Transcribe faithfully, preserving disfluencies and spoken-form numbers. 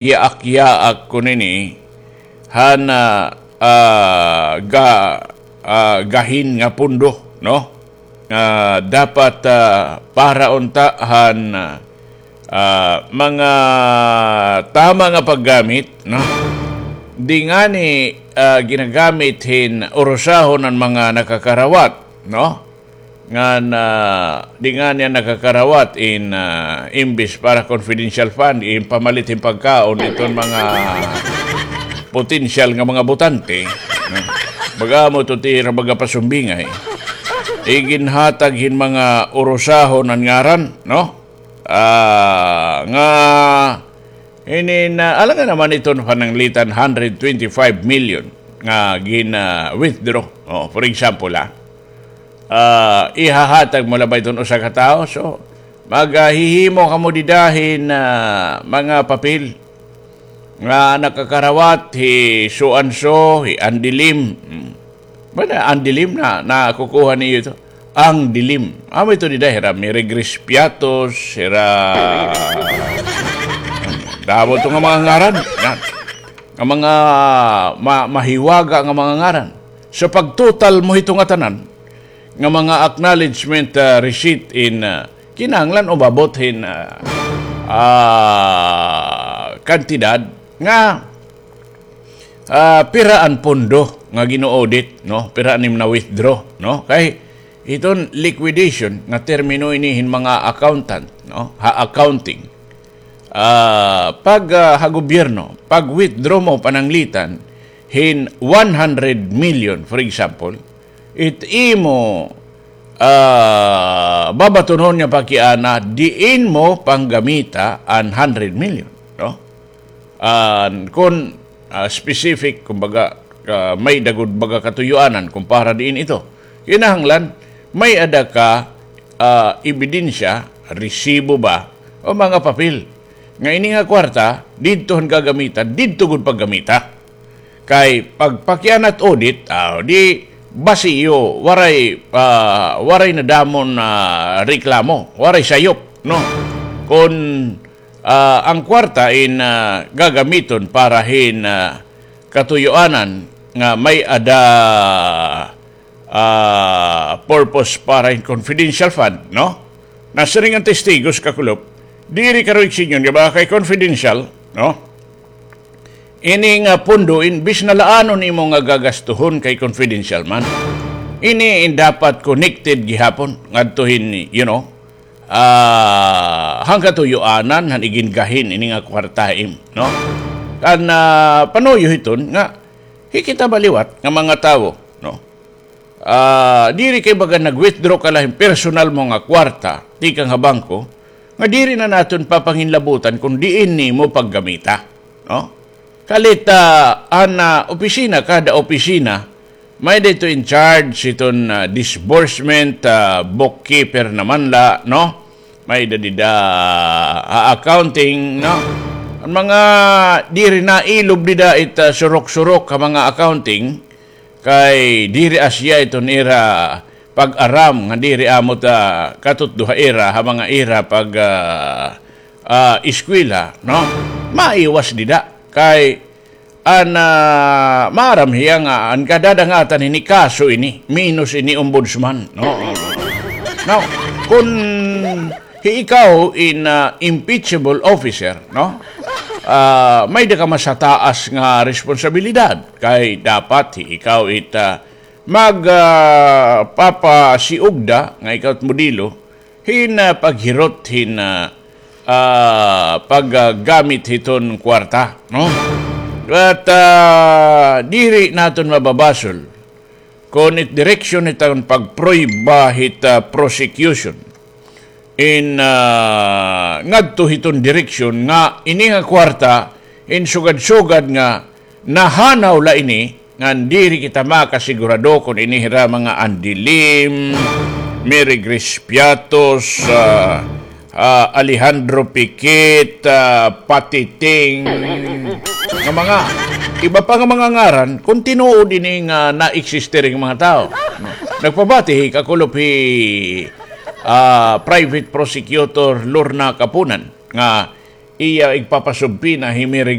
yaak-yaak ko nini han, ah, ah, ga-, ah, gahin nga pondo, no? Ah, dapat, ah, para unta han, ah, mga tama nga paggamit, no? Di ngani, ah, ginagamit hin urusahon an mga nakakarawat, no? Ngan, ah, di ngani an nakakarawat in, ah, imbis para confidential fund, in pamalit hin pagkaon iton mga potensyal nga mga botante, no? Baga amo ito ti ira baga pasumbingay. Iginhatag hin mga urusahon an ngaran, no? Ah, nga, inin, ah, alangan naman iton pananglitan hundred twenty-five million nga gin, ah, withdraw. Oh, for example, ah, ah, ihahatag mo la ba iton usa ka tawo? So, maghihimo kamo dida hin, ah, mga papel nga nakakarawat hi so and so, hi Andilim. Hmm. Bana, Andilim na, nakukuha niyo ito. Andilim. Amo ito dida, hira Mirigris Piatos, hira, damo ito nga mga ngaran. Nga, nga mga ma-, mahiwaga nga mga ngaran. So, pag-total mo hito nga tanan, nga mga acknowledgement, ah, receipt in, ah, kinahanglan umabot hin, ah, ah, kantidad nga, ah, pira an pondo nga gin-audit, no? Pira an im na-withdraw, no? Kay iton liquidation nga termino ini hin mga accountant, no? Ha accounting. Ah, pag, ah, ha gobyerno, pag-withdraw mo pananglitan hin one hundred million, for example, it imo, ah, babatunon nga pakiana, diin mo panggamita an hundred million, no? An kun, ah, specific, kumbaga, ah, may-ada gud baga katuyoanan kung para diin ito. Kinahanglan, may-ada ka, ah, ebidensya, resibo ba, o mga papel nga ini nga kwarta, didto han gagamitan, didto gud paggamita. Kay pagpakiana it audit, ah, di basiyo, waray, ah, waray nadamon, ah, reklamo, waray sayop, no? Kun, ah, an kwarta in, ah, gagamiton para hin, ah, katuyoanan nga may-ada ah, purpose para hin confidential fund, no? Nasiring an testigos, kakulop, diri karo igsingon nga baka kay confidential, no? Ini nga pondo, imbis na laanon imo nga gagastuhon kay confidential man. Ini in dapat connected gihapon ngadto hin, you know, ah, han katuyoanan, han igingahin ini nga kwarta im, no? Kan, ah, panuyo hiton nga, hi kita ba liwat nga mga tawo, no? Ah, diri kay baga nag-withdraw ka la hin personal mo nga kwarta tikang ha bangko, nga diri na naton papanginlabutan kon diin nimo paggamita, no? Kalit, ah, an, ah, opisina, kada opisina, may-ada ito in charge hiton, ah, disbursement, ah, bookkeeper naman la, no? May-ada dida, ah, accounting, no? An mga diri nailob dida it, ah, surok-surok ha mga accounting, kay diri asya iton ira pag-aram nga diri amo ta katutdo ha ira, ha mga ira pag, ah, ah, eskwela, no? Maiwas dida. Kay an, ah, maaram hiya nga an kadadangatan hini kaso ini, menos ini ombudsman, no? Now, kun hi ikaw in, ah, impeachable officer, no? Ah, may-ada ka mas hataas nga responsabilidad. Kay dapat hi ikaw it, ah, mag, ah, papasiugda nga ikaw it modelo hin, ah, paghirot hin, ah, ah, paggamit hiton kwarta, no? But, ah, diri naton mababasol kon it direksyon hiton pagprueba hit, ah, prosecution in, ah, ngadto hiton direksyon nga ini nga kwarta in sugad-sugad nga nahanaw la ini, ngan diri kita makasigurado kon ini hira mga Andilim, Mary Grace Piatos, ah, ah, Alejandro Piquet, ah, Patiting, nga mga iba pa nga mga ngaran, kon tinuod ini nga na-existe ring mga tawo. Nagpabati hi kakulop hi, ah, Private Prosecutor Lorna Kapunan nga iya igpapasubpina hi Mary